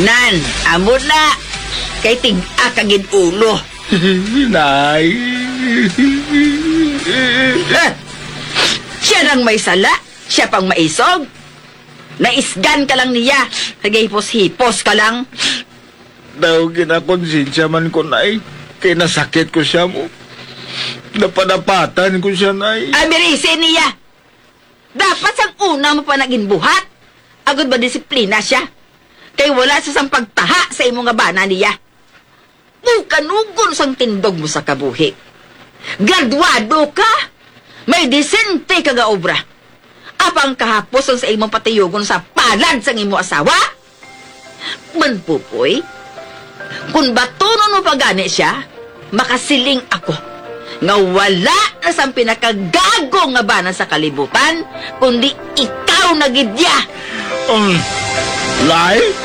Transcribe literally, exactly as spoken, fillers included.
Nan, amo na. Kay tig-a ka gid ulo. Nay. Eh, siya lang may sala, siya pang maisog. Naisgan ka lang niya. Nagahipos-hipos ka lang. Daw ginakonsensya man ko, Nay. Kay nasakit ko siya mo. Napadapatan ko siya, Nay. Abirisi niya. Dapat sang una mo pa naging buhat. Agod ba disiplina siya? Kay wala sa sang pagtaha sa imo nga bana niya. Bukanugon sang tindog mo sa kabuhi. Graduado ka. May disente ka nga obra. Apang kahapos ang sa imong patiyugon sa palad sang imo asawa? Manpupoy, kung batunon mo pa gani siya, makasiling ako nga wala na sang pinakagago nga bana sa kalibutan, kundi ikaw na gid ya. Um, Nay?